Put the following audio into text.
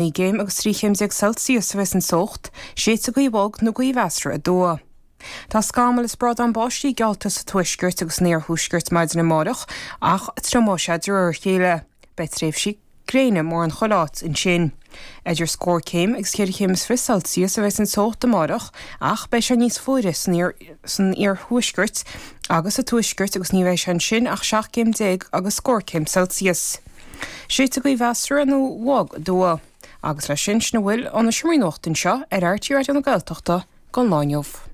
9 gcéim agus 13 chéim Celsius a bheas an teocht, séidfidh gaoth bhog nó gaoth mheasartha aduaidh. Tá scamaill is brádán báistí geallta sa tuaisceart agus san iarthuaisceart maidin amárach ach triomóidh sé de réir a chéile. Beidh tréimhsí gréine mórán chuile áit ansin. Idir scór céim agus cheithre chéim is fiche Celsius a bheas an teocht amárach ach beidh sé níos fuaire san iarthuaisceart agus sa tuaisceart agus ní bheidh sé ansin ach 17 céim agus scór céim Celsius. Séidfidh gaoth mheasartha nó bhog aduaidh. Agus leis sin, sin a bhfuil ó na seomraí nuachta anseo ar RTÉ Raidió na Gaeltachta don lá inniu.